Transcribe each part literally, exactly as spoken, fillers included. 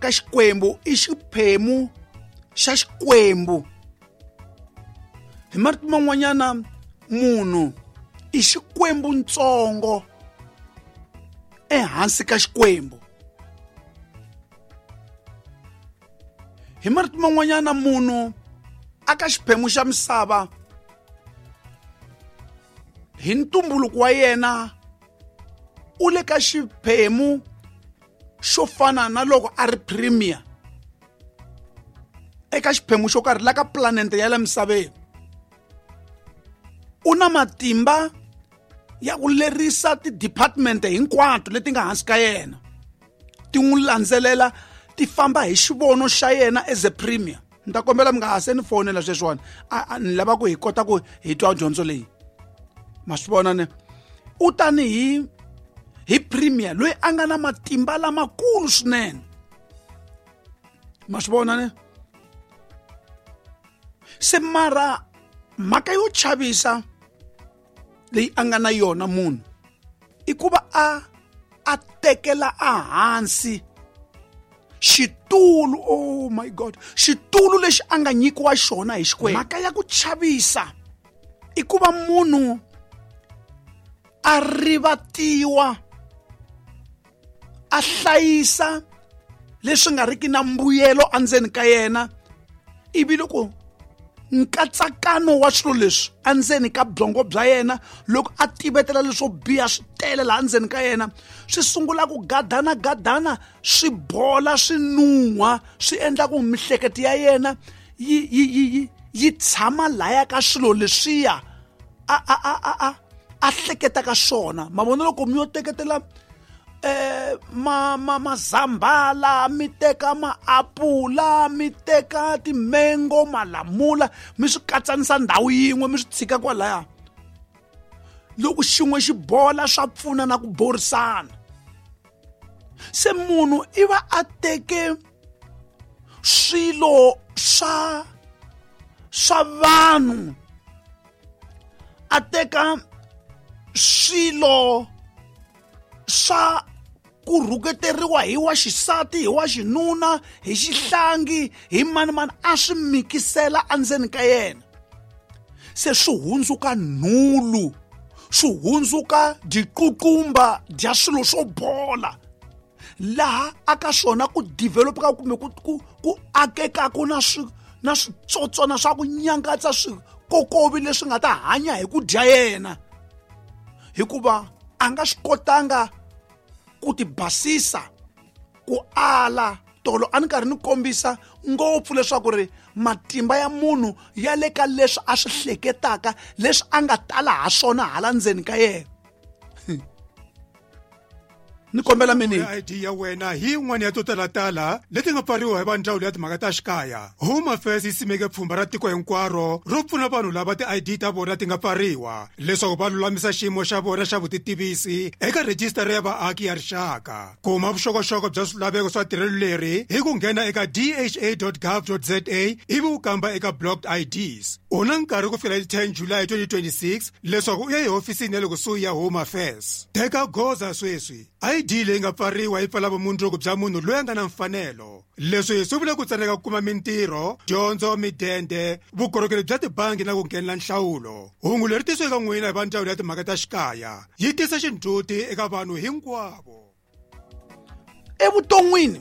ka Xikwembu, i xiphemu xa Xikwembu. Hi marito man'wanyana munhu i Xikwembu ntsongo ehansi ka Xikwembu. Hi marito man'wanyana munhu aka xiphemu xa misava hi ntumbuluko wa yena u le ka xiphemu xo fana na loko a ri premier eka xiphemu xo karhi la ka planete ya la misaveni. U na matimba ya ku lerisa ti-department hinkwato leti nga hansi ka yena, ti n'wi landzelela, ti famba hi xivono xa yena as a premier. Ni ta kombela mi nga ha se ni fonela sweswiwani, a ni lava ku hi kota ku hi twa dyondzo leyi. Ma swi vona ne? U tanihi hi premier loyi a nga na matimba lamakulu swinene. Ma swi vona ne? Se mara mhaka yo chavisa leyi a nga na yona munhu i ku va a a tekela ehansi xitulu, oh my God, xitulu lexi a nga nyikiwa xona hi Xikwembu. Mhaka ya ku chavisa i ku va munhu a rivatiwa, a hlayisa leswi nga riki na mbuyelo endzeni ka yena, ivi loko nkatsakano wa swilo leswi endzeni ka byongo bya yena, loko a tivetela leswo biha swi tele laha endzeni ka yena, swi sungula ku gadana gadana, swi bola, swi nuha, swi endla ku mihleketo ya yena yi yi yi yi tshama laya ka swilo leswiya a a a a a a hleketaka swona. Ma vona loko mi yo teketela eh ma ma mazambala, mi teka maapula, mi teka timengo, malamula, mi swi katsanisa ndhawu yin'we, mi swi tshika kwalaya, loko xin'we xi bola swa pfuna na ku borisana. Se munhu i va a teke swilo swa swa vanhu, a teka swilo swa ku rhuketeriwa hi wa xisati, hi wa xinuna, hi xihlangi, hi mani mani, a swi mikisela endzeni ka yena. Se swi hundzuka nhulu, swi hundzuka diququmba dya swilo swo bola, laha aka swona ku developeka kumbe ku ku ku akekaka na swi na switsotswana swa ku nyangatsa swikokovi leswi nga ta hanya hi ku dya yena, hikuva a nga swi kotanga ku ti basisa, ku ala. Tolo a ni karhi ni kombisa ngopfu leswaku ri matimba ya munhu ya le ka leswi a swi hleketaka, leswi a nga tala ha swona hala ndzeni ka yena. Ni kombela mini I D ya wena hi yin'wana ya to talatala leti nga pfariwa hi va ndzawulo ya timhaka ta xikaya. Home Affairs yi simeke pfhumba ra tiko hinkwaro ro pfuna vanhu lava ti-I D ta vona ti nga pfariwa leswaku va lulamisa xiyimo xa vona xa vutitivisi eka rhejisitara ya vaaki ya rixaka. Kuma vuxokoxoko bya swilaveko swa tirhelo leri hi ku nghena eka d h a dot gov dot z a ivi u kamba eka blocked I Ds. U na nkarhi ku fikela hi ten July twenty twenty-six leswaku u ya ehofisini ya le kusuhi ya Home Affairs. Teka goza sweswi. I D leyi nga pfariwa yi pfala vumundzuku bya munhu loyi a nga na mfanelo. Leswi swi vula ku tsandzeka ku kuma mintirho, dyondzo, midende, vukorhokeri bya tibangi na ku nghenela nhlawulo. Hungu leri tisiwa eka n'wina hi va ndzawulo ya timhaka ta xikaya yi tisa xindzhuti eka vanhu hinkwavo. Evuton'wini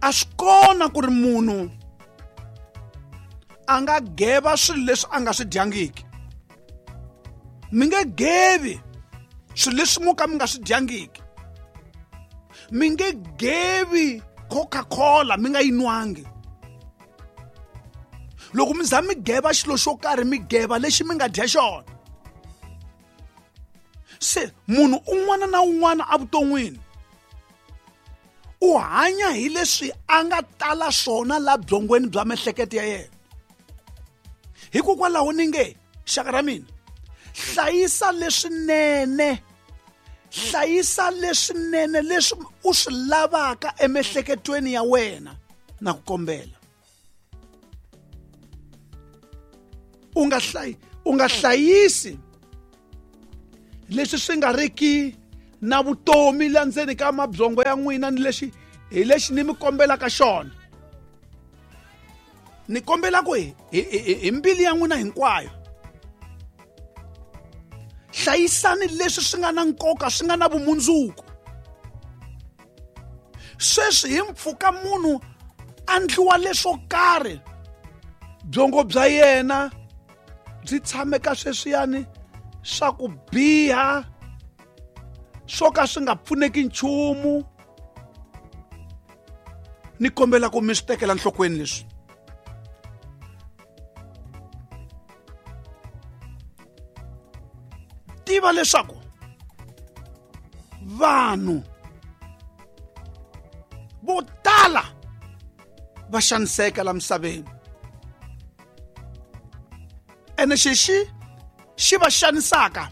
a swi kona ku ri munhu a nga geva swilo leswi a nga swi dyangiki. Mi nge gevi swilo leswi mo ka mi nga swi dyangiki. Mi nge gevi Coca-Cola mi nga yi nwangi. Loko mi za mi geva xilo xo karhi, mi geva lexi mi nga dya xona. Se munhu un'wana na un'wana evuton'wini u hanya hi leswi a nga tala swona la byongweni bya miehleketo ya yena. Hikokwalaho ni nge xaka ra mina, hlayisa leswinene, hlayisa leswinene leswi u swi lavaka emiehleketweni ya wena, na ku kombela. U nga hlayi, u nga hlayisi leswi swi nga riki na vutomi la ndzeni ka mabyongo ya n'wina ni lexi hi lexi ni mi kombelaka xona. Ni kombela ku hi hi mbilu ya n'wina hinkwayo hlayisani leswi swi nga na nkoka, swi nga na vumundzuku. Sweswi hi mpfhuka munhu a ndliwa leswo karhi, byongo bya yena byi tshame ka sweswiyani swa ku biha, swo ka swi nga pfuneki nchumu. Ni kombela ku mi swi tekela nhlokweni leswi. Tiva leswaku vanhu vo tala va xaniseka la misaveni, ene xexi xi va xanisaka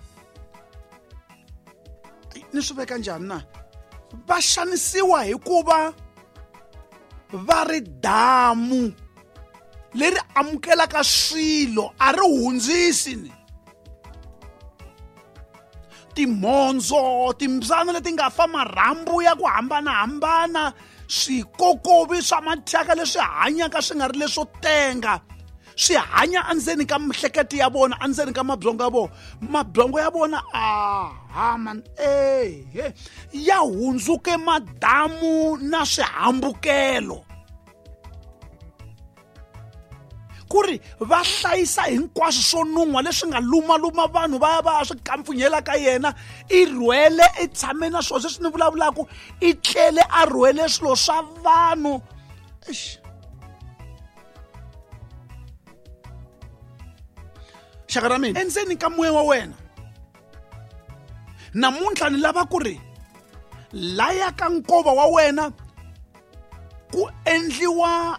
ni swi veka njhani na? Va xanisiwa hikuva va ri damu leri amukelaka swilo, a ri hundzisi ni timhondzo, timbyana leti nga fa marhambu ya ku hambanahambana, swikokovi swa mathyaka leswi hanyaka swi nga ri leswo tenga, swi hanya endzeni ka mihleketo ya vona, endzeni ka mabyongo ya vona. Mabyongo ya vona aha man ehe ya hundzuke madamu na swihambukelo, ku ri va hlayisa hinkwaswo swo nun'hwa leswi nga lumaluma vanhu va ya va ya swi kampfunyela ka yena. I rhwele, i tshame na swona sweswi ni vulavulaka, i tlele a rhwele swilo swa vanhu. Eish. Xaka ra mina, endzeni ka moya wa wena namuntlha ni lava ku ri laya ka nkova wa wena ku endliwa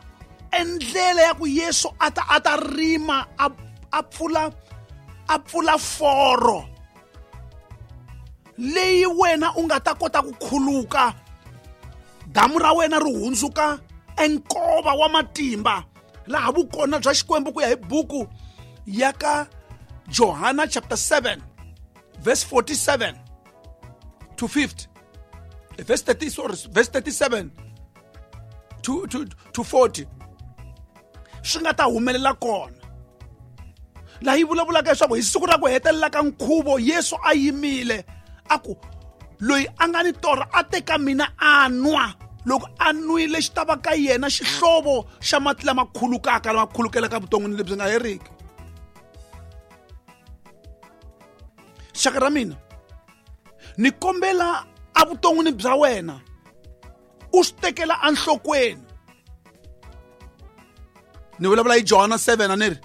endlela ya ku Yesu a ta a ta rima a a pfula a pfula foro leyi wena u nga ta kota ku khuluka, damu ra wena ri hundzuka enkova wa matimba, laha vukona bya Xikwembu ku ya hi buku ya ka Johana chapter seven verse forty-seven to fifty, verse thirty, sorry, verse thirty-seven to to to forty swi nga ta humelela kona. Laha yi vulavulaka leswaku hi siku ra ku hetelela ka nkhuvo Yesu a yimile a ku loyi a nga ni torha a teka mina a nwa, loko a nwile xi ta va ka yena xihlovo xa mati lama khulukaka, lama khulukelaka vuton'wini lebyi nga heriki. Xaka ra mina, ni kombela evuton'wini bya wena u swi tekela enhlokweni. Ni vulavula hi Johana seven a ni ri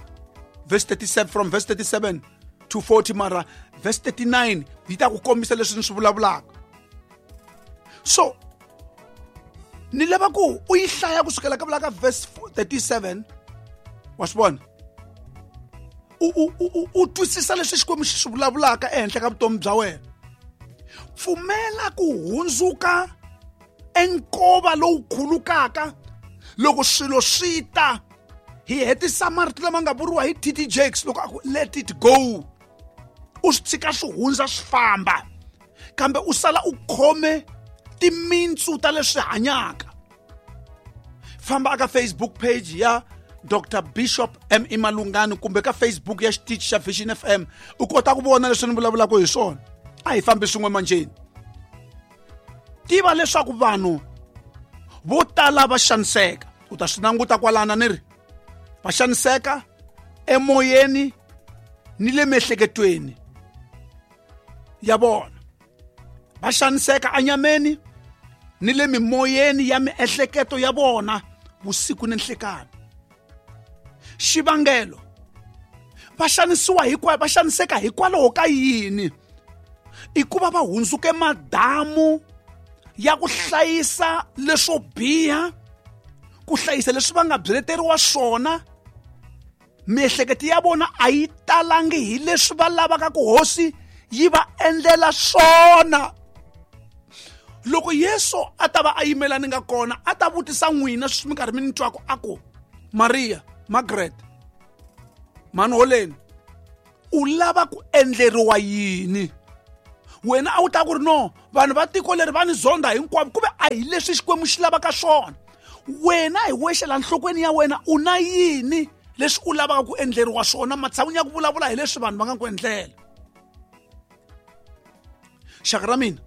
verse thirty-seven, from verse thirty-seven to forty, mara verse thirty-nine yi ta ku kombisa leswi ni swi vulavulaka. So ni lava ku u yi hlaya kusukela ka vula ka verse thirty-seven, wa swi vona, u u u u twisisa leswi Xikwembu xi swi vulavulaka ehenhla ka vutomi bya wena. Pfumela ku hundzuka enkova lowu khulukaka loko swilo swi ta. Hi hetisa marito lama nga vuriwa hi T T Jakes loko a ku let it go, u swi tshika swi hundza swi famba, kambe u sala u khome timintsu ta leswi hanyaka. Famba aka Facebook page ya Doctor Bishop M E Malungani kumbe ka Facebook ya xitichi xa Vision F M, u kota ku vona leswi ni vulavulaka hi swona. A hi fambi swin'we manjeni. Tiva leswaku vanhu vo tala va xaniseka, u ta swi languta kwalana ni ri va xaniseka emoyeni ni le miehleketweni ya vona, va xaniseka enyameni ni le mimoyeni ya miehleketo ya vona vusiku ni nhlekani. Xivangelo va xanisiwa hikwalaho, va xaniseka hikwalaho ka yini? I ku va va hundzuke madamu ya ku hlayisa leswo biha, ku hlayisa leswi va nga byeleteriwa swona. Miehleketo ya vona a yi talangi hi leswi va lavaka ku hosi yi va endlela swona. Loko Yesu a ta va a yimela ni nga kona, a ta vutisa n'wina sweswi mi karhi mi ni twaka a ku Maria, Margaret, Manholeni, u lava ku endleriwa yini? Wena a wu ta ku ri no, vanhu va tiko leri va ni zonda hinkwavo, kumbe a hi leswi Xikwembu xi lavaka swona. Wena hi wexe la nhlokweni ya wena u na yini leswi u lavaka ku endleriwa swona, matshan'wini ya ku vulavula hi leswi vanhu va nga ku endlela. Xaka ra mina,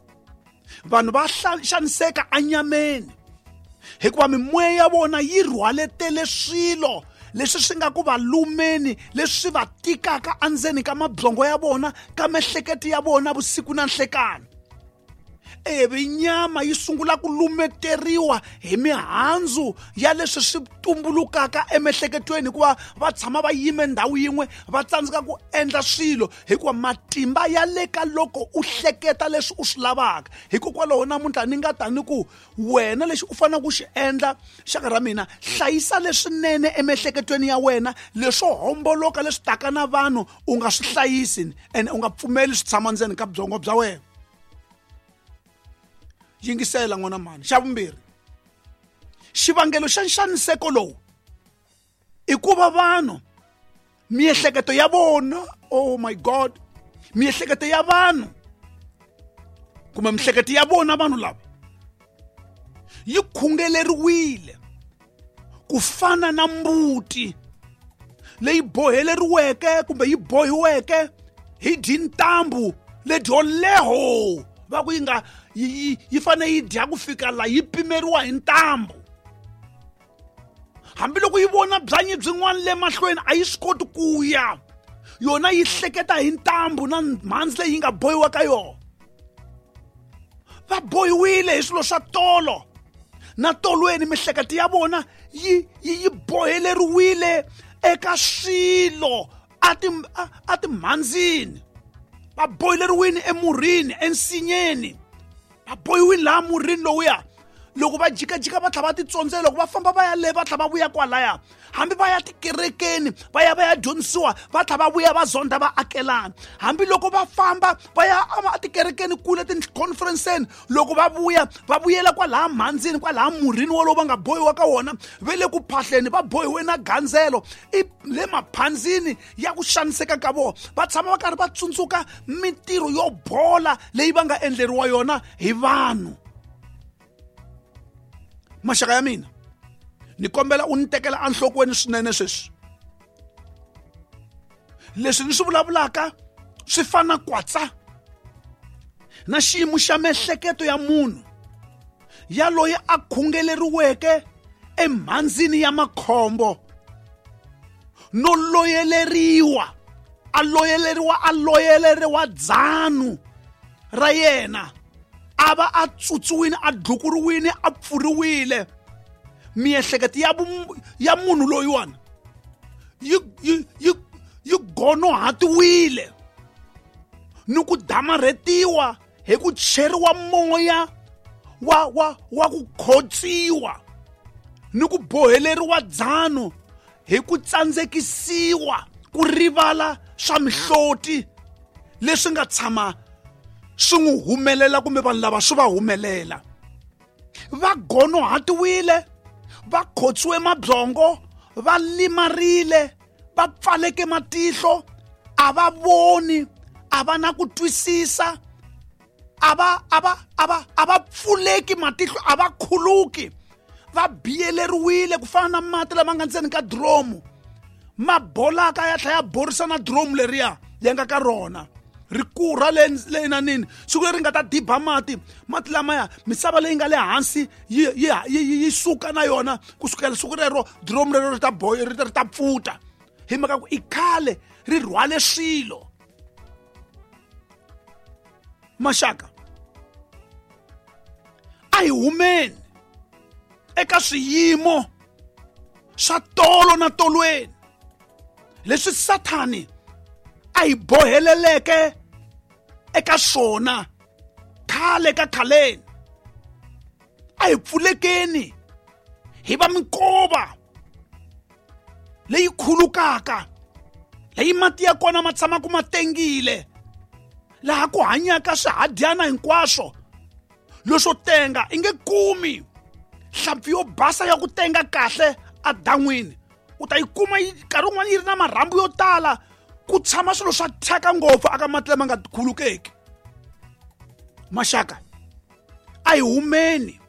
vanhu va xaniseka anyameni hikuva mimoya ya vona yi rhwaletele swilo leswi swi nga ku va lumeni, leswi swi va tikaka endzeni ka mabyongo ya vona, ka miehleketo ya vona vusiku na nhlekani. Ivi nyama yi sungula ku lumeteriwa hi mihandzu ya leswi swi tumbulukaka emiehleketweni, hikuva va tshama va yime ndhawu yin'we, va tsandzeka ku endla swilo hikuva matimba ya le ka loko u hleketa leswi u swi lavaka. Hikokwalaho namuntlha ni nga ta ni ku wena lexi u faneleke ku xi endla, xaka ra mina, hlayisa leswinene emiehleketweni ya wena, leswo homboloka leswi taka na vanhu u nga swi hlayisi ene u nga pfumeli swi tshama ndzeni ka byongo bya wena. Yingisela n'wana mhani. Xa vumbirhi, xivangelo xa nxaniseko lowu i ku va vanhu miehleketo ya vona, oh my God, miehleketo ya vanhu kumbe miehleketo ya vona vanhu lava yi khungeleriwile ku fana na mbuti leyi boheleriweke kumbe yi bohiweke hi dyintambu ledyo leho, va ku yi nga yi yi fanele yi dya ku fika la yi pimeriwa hi ntambu. Hambiloko yi vona byanyi byin'wana le mahlweni a yi swi koti ku ya, yona yi hleketa hi ntambu na mhandzi leyi yi nga bohiwa ka yona. Va bohiwile hi swilo swa tolo na tolweni, miehleketo ya vona yi yi yi boheleriwile eka swilo a ti a timhandzini. Va boheleriwile emurhini, ensinyeni, va bohiwile laha murhini lowuya. Loko va jikajika va tlhela va titsondzela, loko va famba va ya le va tlhela va vuya kwalaya, hambi va ya tikerekeni va ya va ya dyondzisiwa, va tlhela va vuya va zonda va akelana. Hambiloko va famba va ya etikerekeni kule ti-conference-eni, loko va vuya va vuyela kwalaha mhandzini, kwalaha murhini wolowo va nga bohiwa ka wona, va le ku phahleni, va bohiwe na gandzelo i le maphandzini ya ku xaniseka ka vona. Va tshama va karhi va tsundzuka mintirho yo bola leyi va nga endleriwa yona hi vanhu. Maxaka ya mina, ni kombela u ni tekela enhlokweni swinene sweswi. Leswi ni swi vulavulaka swi fana kwatsa na xiyimo xa miehleketo ya munhu ya loyi a khungeleriweke emhandzini ya makhombo no loyeleriwa, a loyeleriwa a loyeleriwa dzanu ra yena, a va a tsutsuwile, a dlukuriwile, a pfuriwile. Miehleketo ya ya munhu loyiwani yi yi yi yi gonohatiwile ni ku damarhetiwa hi ku cheriwa moya wa wa wa ku khotsiwa ni ku boheleriwa dzanu hi ku tsandzekisiwa ku rivala swa mihloti leswi nga tshama swi n'wi humelela kumbe vanhu lava swi va humelela. Va gonohatiwile, va khotsiwe mabyongo, va limarile, va pfaleke matihlo, a va voni, a va na ku twisisa, a va a va a va a va pfuleki matihlo, a va khuluki, va biyeleriwile ku fana na mati lama nga ndzeni ka diromu, ma bolaka ya tlhela ya borisa na diromu leriya ya nga ka rona, ri kurha le le nanini. Siku leri nga ta diba mati, mati lamaya misava leyi nga le hansi yi yi yi suka na yona. Kusukela siku rero diromu rero ri ta boy ri ta pfuta, hi mhaka ku i khale ri rhwale swilo. Maxaka, a hi humeni eka swiyimo swa tolo na tolweni leswi Sathani a hi boheleleke eka swona khale ka khaleni. A hi pfulekeni hi va minkova leyi khulukaka, leyi mati ya kona ma tshamaka ma tengile, laha ku hanyaka swihadyana hinkwaswo leswo tenga. I nge kumi nhlampfi yo basa ya ku tenga kahle adan'wini, u ta yi kuma nkarhi wun'wana yi ri na marhambu yo tala, ku tshama swilo swa thyaka ngopfu aka mati lama nga khulukeki. Maxaka, a hi humeni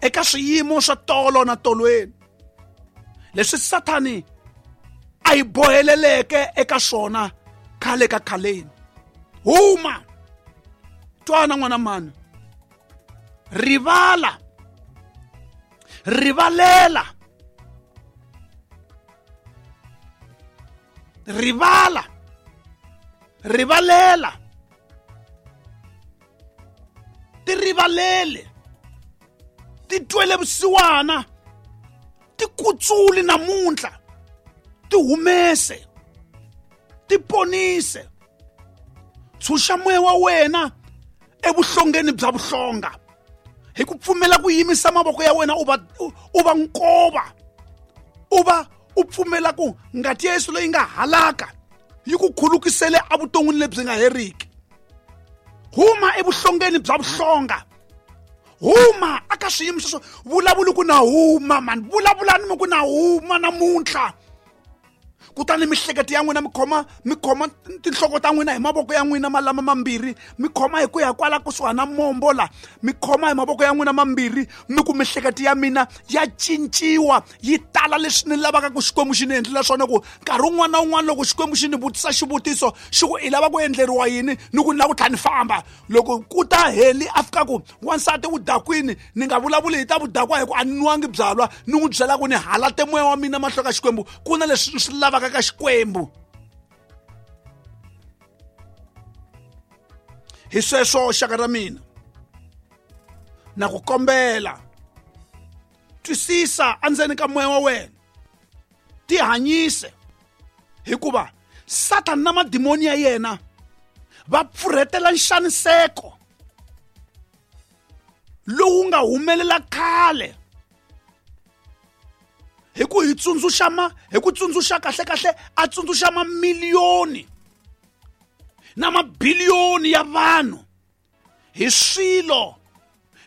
eka swiyimo swa tolo na tolweni leswi Sathani a hi boheleleke eka swona khale ka khaleni. Huma, twana n'wana mani, rivala, rivalela, rivala, rivalela, ti rivalele, ti twele vusiwana, ti kutsuli namuntlha, ti humese, ti ponise, tshunxa moya wa wena evuhlongeni bya vuhlonga hi ku pfumela ku yimisa mavoko ya wena u va u va nkova, u va u pfumela ku ngati ya Yesu leyi nga halaka yi ku khulukisele evuton'wini lebyi nga heriki. Huma evuhlongeni bya vuhlonga, huma aka swiyimo sweswo. Vulavuli ku na huma mani, vulavulani mi ku na huma namuntlha. Kutani mihleketo ya n'wina mi khoma mi khoma tinhloko ta n'wina hi mavoko ya n'wina malama mambirhi, mi khoma hi ku ya kwala kusuhana na mombo la, mi khoma hi mavoko ya n'wina mambirhi, mi ku mihleketo ya mina ya cinciwa yi tala leswi ni lavaka ku Xikwembu xi ni endlela swona. Ku nkarhi wun'wana na wun'wana loko Xikwembu xi ni vutisa xivutiso xi ku i lava ku endleriwa yini, ni ku ni lava ku tlhela ni famba. Loko ku ta heli a fika ku wansati u dakwini, ni nga vulavuli hi ta vudakwa hi ku a ni nwangi byalwa, ni n'wi byela ku ni halate moya wa mina mahlo ka Xikwembu, ku na leswi ni swi lavaka ka Xikwembu. Hi sweswo xaka ra mina, na ku kombela, twisisa endzeni ka moya wa wena, tihanyise, hikuva Sathana na madimoni ya yena va pfurhetela nxaniseko lowu nga humelela khale hi ku hi tsundzuxa ma hi ku tsundzuxa kahle kahle a tsundzuxa mamiliyoni na mabiliyoni ya vanhu hi swilo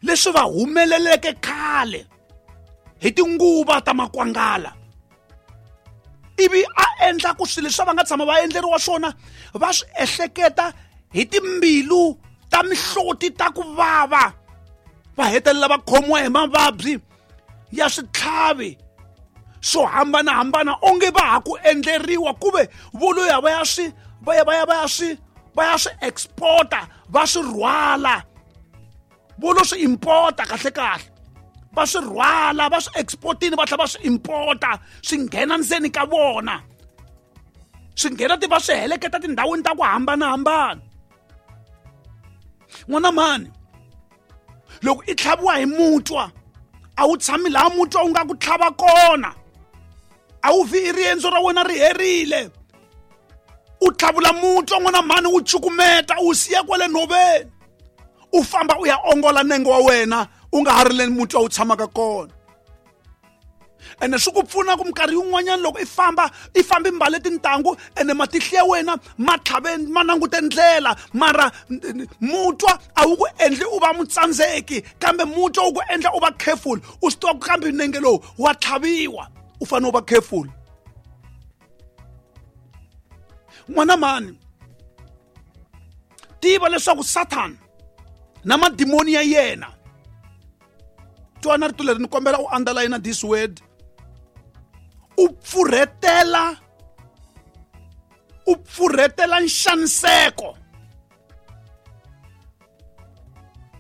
leswi va humeleleke khale hi tinguva ta makwangala, ivi a endla ku swilo leswi va nga tshama va endleriwa swona va swi ehleketa hi timbilu ta mihloti ta ku vava, va hetelela va khomiwa hi mavabyi ya switlhavi swo hambanahambana onge va ha ku endleriwa, kuve vo loya va ya swi va ya va ya va ya swi va ya swi exporta, va swi rhwala, vo lo swi importa kahle kahle, va swi rhwala va swi exportini va tlhela va swi importa, swi nghena ndzeni ka vona, swi nghena ti va swi heleketa tindhawini ta ku hambanahambana. N'wana mani, loko i tlhaviwa hi mutwa a wu tshami laha mutwa wu nga ku tlhava kona, a wu vi i riendzo ra wena ri herile, u tlhavula mutwa n'wana mhani, wu cukumeta u siya kwale nhoveni, u famba u ya ongola nenge wa wena u nga ha ri le mutwa wu tshamaka kona. Ene swi ku pfuna ku minkarhi yin'wanyana loko i famba i famba i mbale tintangu ene matihlo ya wena ma tlhave ma langute ndlela, mara mutwa a wu ku endli u va mutsandzeki, kambe mutwa wu ku endla u va careful, u swi tiva ku kambe nenge lowu wa tlhaviwa, u fanele u va careful. N'wana mani, tiva leswaku Sathana na madimoni ya yena, twana rito leri ni kombela u underline this word, u pfurhetela u pfurhetela nxaniseko,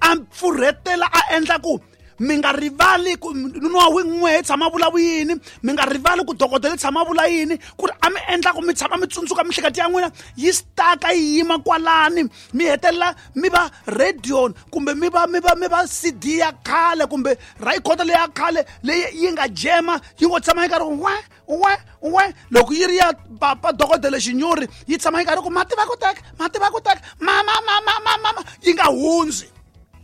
a pfurhetela a endla ku mi nga rivali ku nuna wa n'we tshama vula yini, mi nga rivali ku dokodela tshama vula yini, ku ri a mi endla ku mi tshama mi tsundzuka mihleketo ya n'wina yi staka yi yima kwalani, mi hetelela mi va radio kumbe mi va mi va mi va C D ya khale kumbe record leya khale leyi yi nga jema yi ngo tshama yi karhi we we we, loko yi ri ya papa dokodela Xinyori yi tshama yi karhi ku mati va ku teka mati va ku teka mama mama mama, yi nga hundzi.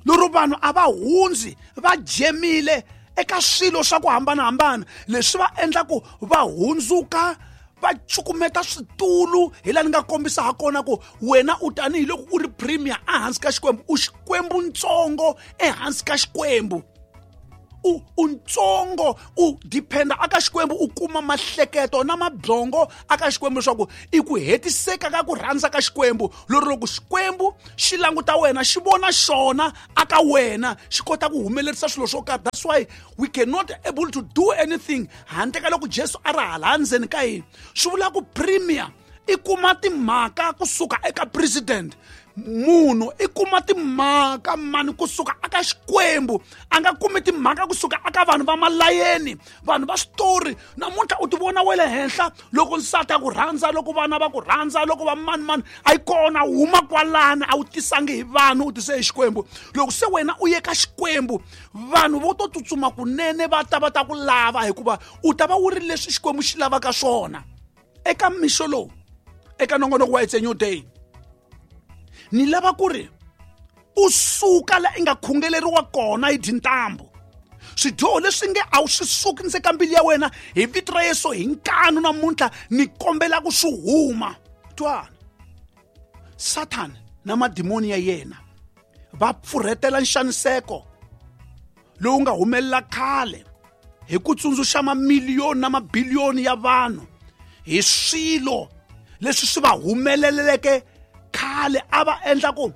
Lero vanhu a va hundzi va jemile eka swilo swa ku hambanahambana leswi va endla ku va hundzuka va cukumeta switulu. Hi laha ni nga kombisa ha kona ku wena u tanihiloko u ri premier ehansi ka Xikwembu, u Xikwembu ntsongo ehansi ka Xikwembu, u u ntsongo u dependa aka Xikwembu u kuma mahleketo na mabyongo aka Xikwembu leswaku i ku hetiseka ka ku rhandza ka Xikwembu. Lero loko Xikwembu xi languta wena xi vona xona aka wena xi kota ku humelerisa swilo swo karhi. That's why we cannot able to do anything handle ka loko Jesu a ri hala ndzeni ka hina. Swi vula ku premier i kuma timhaka kusuka eka president, munhu i kuma timhaka mani kusuka aka Xikwembu, a nga kumi timhaka kusuka aka vanhu va malayeni, vanhu va switori. Namuntlha u ti vona we le henhla loko nsati a ku rhandza, loko vana va ku rhandza, loko va mani mani a yi kona, huma kwalani, a wu tisangi hi vanhu, u tise hi Xikwembu. Loko se wena u ye ka Xikwembu, vanhu vo to tsutsuma kunene va ta va ta ku lava, hikuva u ta va wu ri leswi Xikwembu xi lavaka swona. Eka mixo lowu, eka nongonoko wa It's a New Day, ni lava ku ri u suka la i nga khungeleriwa kona hi tintambu. Swidyoho leswi nge a wu swi suki ndzeni ka mbilu ya wena, hi vito ra Yesu hi nkanu namuntlha ni kombela ku swi huma. Twana, Satan na madimoni ya yena va pfurhetela nxaniseko lowu nga humelela khale hi ku tsundzuxa mamiliyoni na mabiliyoni ya vanhu hi swilo leswi swi va humeleleke khale, a va endla ku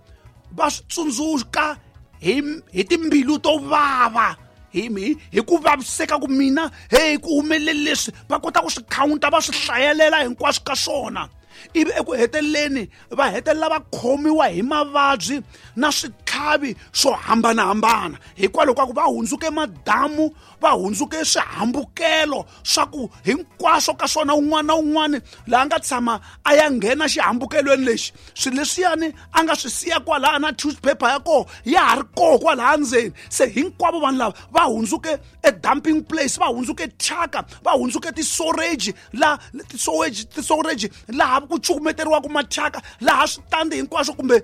va swi tsundzuka hi hi timbilu to vava, hi hi ku vaviseka ku mina hey ku humelele leswi, va kota ku swi counta va swi hlayelela hinkwaswo ka swona. Ivi eku heteleleni va hetelela va khomiwa hi mavabyi na switlhavi swo hambanahambana, hikwalaho ka ku va hundzuke madamu, va hundzuke swihambukelo swa ku hinkwaswo ka swona un'wana na un'wana laha nga tshama a ya nghena xihambukelweni lexi, swilo leswiyani a nga swi siya kwalaha na toothpaper ya koho ya ha ri koho kwalaha ndzeni. Se hinkwavo vanhu lava va hundzuke e dumping place, va hundzuke thyaka, va hundzuke ti-storage la ti-storage ti-storage laha ku cukumeteriwaka mathyaka, laha switandi hinkwaswo kumbe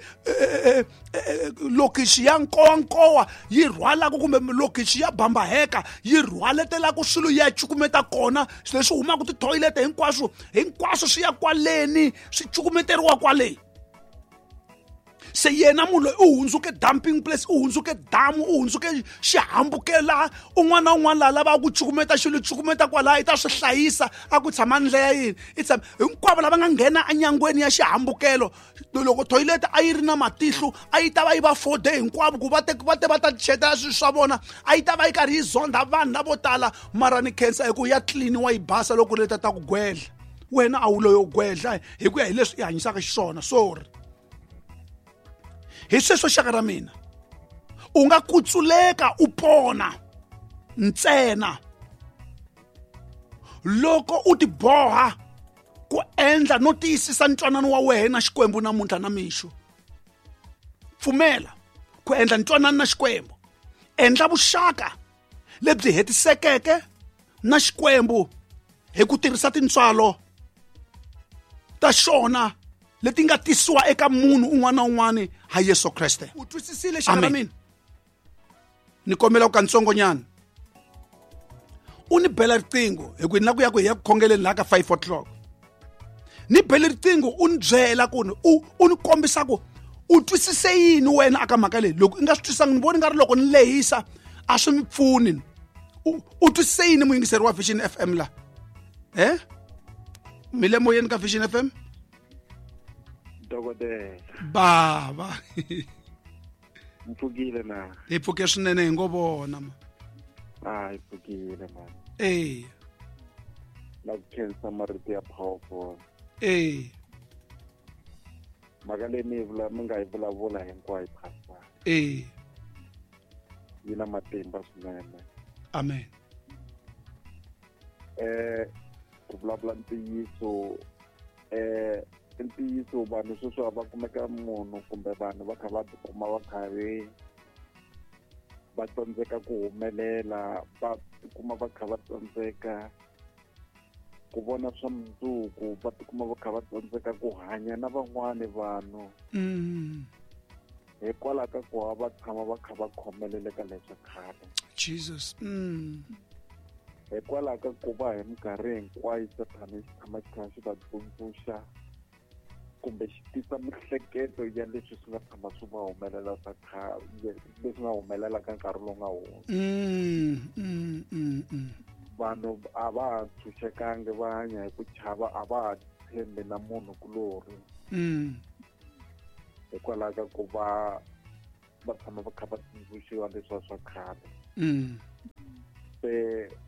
lokixi ya nkowankowa yi rhwalaka kumbe lokixi ya bambaheka yi rhwaletelaka swilo ya cukumeta kona, swilo leswi humaka tithoyilete hinkwaswo hinkwaswo swi ya kwaleni, swi cukumeteriwa kwaleni. Se yena munhu loyi u hundzuke dumping place, u hundzuke damu, u hundzuke xihambukelo. Un'wana na un'wana laha lavaka ku cukumeta xilo cukumeta kwalaha, i ta swi hlayisa a ku tshama ndlela ya yini, i tshama hinkwavo lava nga nghena enyangweni ya xihambukelo. Loko toilet a yi ri na matihlo a yi ta va yi va fode hinkwavo ku va te va te va ta chetela swilo swa vona, a yi ta va yi karhi yi zondha vanhu lavo tala. Mara ni khensa hi ku ya tliniwa yi basa loko ri ta ta ku gwedla. Wena a wu loyo gwedla hi ku ya hi leswi i hanyisaka xiswona. Sorry. Hi sweswo xaka ra mina, u nga kutsuleka u pona ntsena loko u tiboha ku endla no tiyisisa ntwanano wa wena na Xikwembu namuntlha na mixo. Pfumela ku endla ntwanano na Xikwembu, endla vuxaka lebyi hetisekeke na Xikwembu hi ku tirhisa tintswalo ta xona leti nga tisiwa eka munhu un'wana na un'wana ha Yesu Kreste. U twisisile xaka ra mina? Ni kombela ku kantsongonyana u ni bela riqingho hi ku ni la ku ya ku hi ya ku khongeleni laha ka five o'clock. Ni bele riqingho u ni byela ku ni u u ni kombisa ku u twisise yini wena aka mhaka leyi. Loko i nga swi twisanga, ni voni nga ri loko ni lehisa a swi mi pfuni. U u twisise yini muyingiseri wa Vision F M la? Eh? Mi le moyeni ka Vision F M? Dokodela. Baba. Mpfukile na. Hi pfuke swinene hi ngo vona ma. Ah, hi pfukile man. Eh. La ku khensa marito ya powerful. Eh. Mhaka leyi mi vula mi nga yi vulavula hinkwayo pastor. Eh. Yi na matimba swinene. Amen. Eh, ku vulavula ntiyiso eh ntiyiso vanhu sweswi va kumeka munhu kumbe vanhu va kha va tikuma va karhi va tsandzeka ku humelela, va tikuma va kha va tsandzeka ku vona swa mundzuku, va tikuma va kha va tsandzeka ku hanya na van'wani vanhu. Mm. Hikwalaho ka ku va va tshama va kha va khomelele ka leswa khale. Jesus. Mm. Hikwalaho ka ku va hi minkarhi hinkwayo Sathana xi tshama xi kha xi va tsundzuxa kumbe xi tisa mihleketo ya leswi swi nga tshama swi va humelela swa khale, leswi nga humelela ka nkarhi lowu nga hundza. Mm, Vanhu a va ha tshunxekangi va hanya hi ku chava, a va ha tshembi na munhu kulorhi. Mm. Hikwalaho ka ku va va tshama va kha va tsundzuxiwa leswiya swa khale. Mm. Se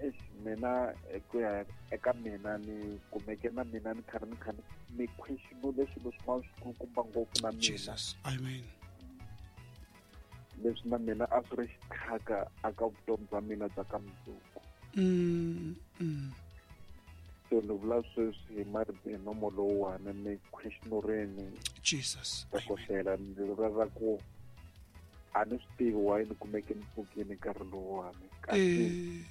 eish, mina hi ku ya eka mina ni kumeke na mina ni karhi ni kha ni ni questionile swilo swin'wana swikulukumba ngopfu na mina. Jesus, amen. Leswi na mina a swi ri xithaka aka vutomi bya mina bya ka mundzuku. Mm, mm. So ni vula sweswi hi marito hi nomo lowuwani ni questionureni Jesus, amen. Dokodela, ni vula ra ku a ni swi tivi why ni kumeke ni pfukile nkarhi lowuwani. Kasi Eh.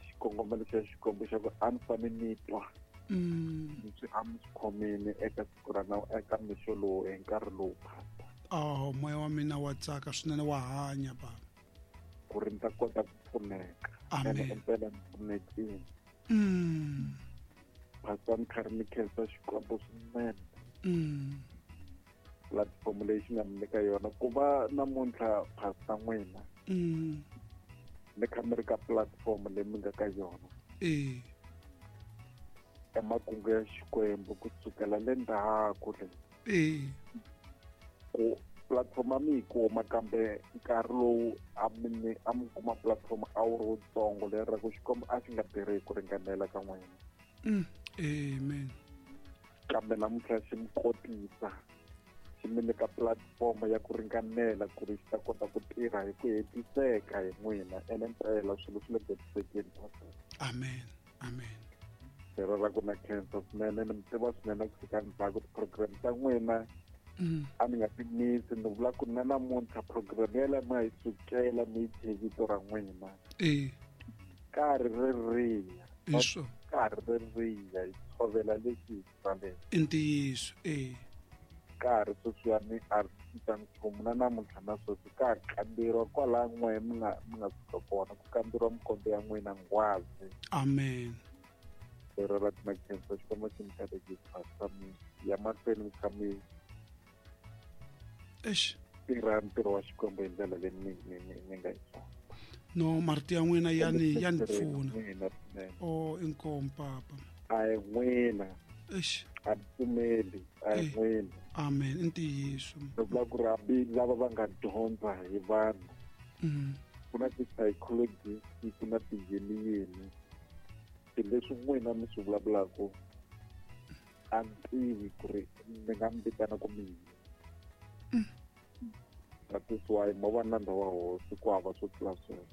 xikongomelo xa Xikwembu xa ku a ni fane ni twa Mm. leswi a mi swi khomile eka siku ra na eka mixo lowu hi nkarhi lowu phata. Oh, moya wa mina wa tsaka swinene, wa hanya baba. Ku ri ni ta kota ku pfuneka. Amen. Ene impela ni pfunekile. Mm. Pastor, ni karhi ni khensa Xikwembu swinene. Mm. Platform leyi xi nga mi nyika yona ku va namuntlha pastor n'wina. Mm. Ni kha mi ri ka platform leyi mi nga ka yona. Eh. Emakungu ya Xikwembu ku sukela le ndzhaku le. Eh. Ku platform a mi yi kuma kambe nkarhi lowu a mi ni, a mi kuma platform a wu ri wutsongo leri ra ku Xikwembu a xi nga tirhi hi ku ringanela ka n'wina. Mm. Amen. Kambe namuntlha xi mi kotisa, xi mi nyika platform ya ku ringanela ku ri xi ta kota ku tirha hi ku hetiseka hi n'wina. Ene mpela swilo swi le ku hetisekeni. Amen. Amen. Lero ra ku na khensa swinene, ni mi tiva swinene ku fika ndzhaku ti-program ta n'wina. Mm. A ni nga ti misi, ni vula ku na namuntlha program yaleyo ma yi sukela mi yi thye vito ra n'wina. Eh. Karhi ri riya. Hi swona. Karhi ri riya, hi tshovela leswi hi tsaleke. I ntiyiso, eh. Karhi sweswiwani a ri cinca nchumu na namuntlha na sweswi ka ha kamberiwa kwalaya n'we mi nga, mi nga suka kona, ku kamberiwa mikombe ya n'wina nghwazi. Amen. Lero ra ku na khensa Xikwembu xi mi katekisa, Pastor, mi ya mahlweni mi kha mi Eish. tirha ntirho wa Xikwembu hi ndlela leyi mi, mi, mi, mi nga yi swona. No, marito ya n'wina ya ni, ya ni Tirheni pfuna. n'wina swinene. Oh, inkomu papa. A hi n'wina. Eish. A ni pfumeli, a hi Eh. n'wina. Amen, i ntiyiso. Ni vula ku ri hambi lava va nga dyondza hi vanhu, Mm. ku na ti-psychologist, ku na ti-yini-yini. Swilo leswi n'wina mi swi vulavulaka, a ni tivi ku ri ni nga mi vitana ku mi yini. Mm. That is why mo va nandza wa hosi ku hava swo tlula sweswo.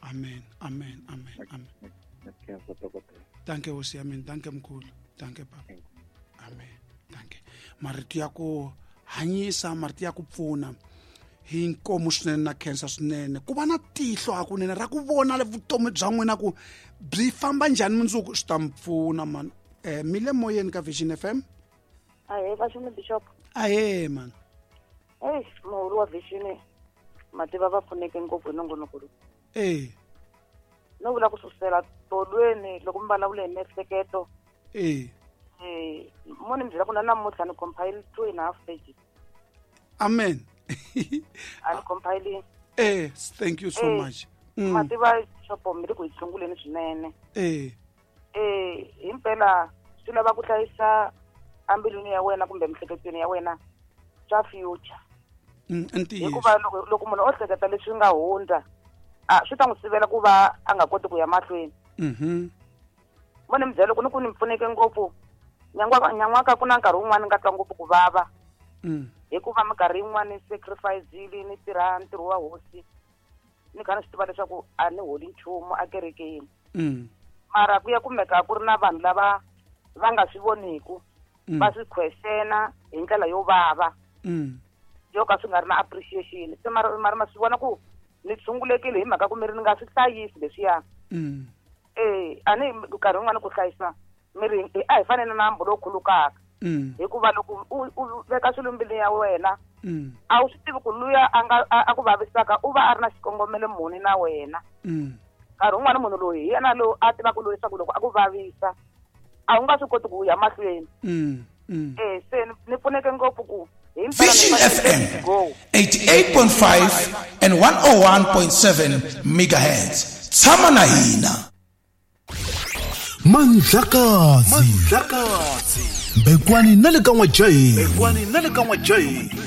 Amen, amen, amen, amen. Na khensa dokodela. Danke hosi ya mina, danke mkhulu, danke papa. Amen, danke. Marito ya ku hanyisa, marito ya ku pfuna hi nkomu swinene na khensa swinene. Ku va na tihlo hakunene ra ku vona le vutomi bya n'wina ku byi famba njhani mundzuku swi ta mi pfuna man. Eh, mi le moyeni ka Vision F M? Ahee, Vashumi Bishop. Ahee man. Eish, muhuri wa Vision mativa va pfuneke ngopfu hi nongonoko lowu. Eh. No vula ku susela tolweni loko mi vulavula hi miehleketo. Eh. Eh, mo ni mi byela ku na namuntlha ni compile two and a half pages. Amen. A ni compile. Eh, thank you so Eh, much. Mm. Mativa xopo mi ri ku hi tshunguleni swinene. Eh. Eh, himpela swi lava ku hlayisa ambilwini ya wena kumbe miehleketweni ya wena swa future. Mm, i ntiyiso. Hikuva loko, loko munhu o hleketa leswi nga hundza, a swi ta n'wi sivela ku va a nga koti ku ya mahlweni. Mhm. Mo ni mi byela ku ni ku ni pfuneke ngopfu. Nyan'waka, nyan'waka ku na nkarhi wun'wani ni nga twa ngopfu ku vava. Mm. Hikuva minkarhi yin'wani sacrifice-ile ni tirha ntirho wa hosi. Ni kha ni swi tiva leswaku a ni holi nchumu ekerekeni. Mm. Mara ku ya kumeka ku ri na vanhu lava va nga swi voniku, Mm. va swi questiona hi ndlela yo vava. Mm. Yo ka swi nga ri na appreciation. Se mara, mara ma swi vona ku ni tshungulekile hi mhaka ku mi ri ni nga swi hlayisi leswiya. Mm. Eh, a ni nkarhi wun'wani ku hlayisa miri a hi fanele na nambu lowu khulukaka. Mm. Hikuva loko u, u veka swilo mbilwini ya wena, Mm. a wu swi tivi ku luya a nga, a, a ku vavisaka u va a ri na xikongomelo muni na wena. Mm. Nkarhi wun'wani munhu loyi hi yena loyi a tivaka loyi leswaku loko a ku vavisa a wu nga swi koti ku ya mahlweni. Mm. Mm. Eh, se ni, ni pfuneke ngopfu ku hi mpela ni Vision fanele F M ni go. eighty-eight point five and one oh one point seven megahertz. Tshama na hina. Mandlakazi Mbekwani na le ka N'wajaheni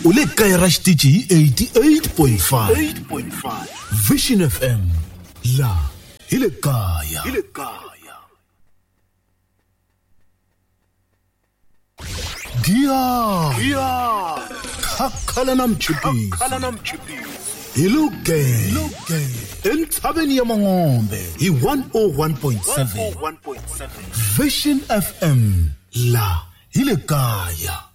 u le kaya ra xitichi hi eighty-eight point five Vision F M la hi le kaya. Dia Khakhala na mchipisi hi Luge entshaveni ya Mangombe hi one oh one point seven Vision F M la hi le kaya.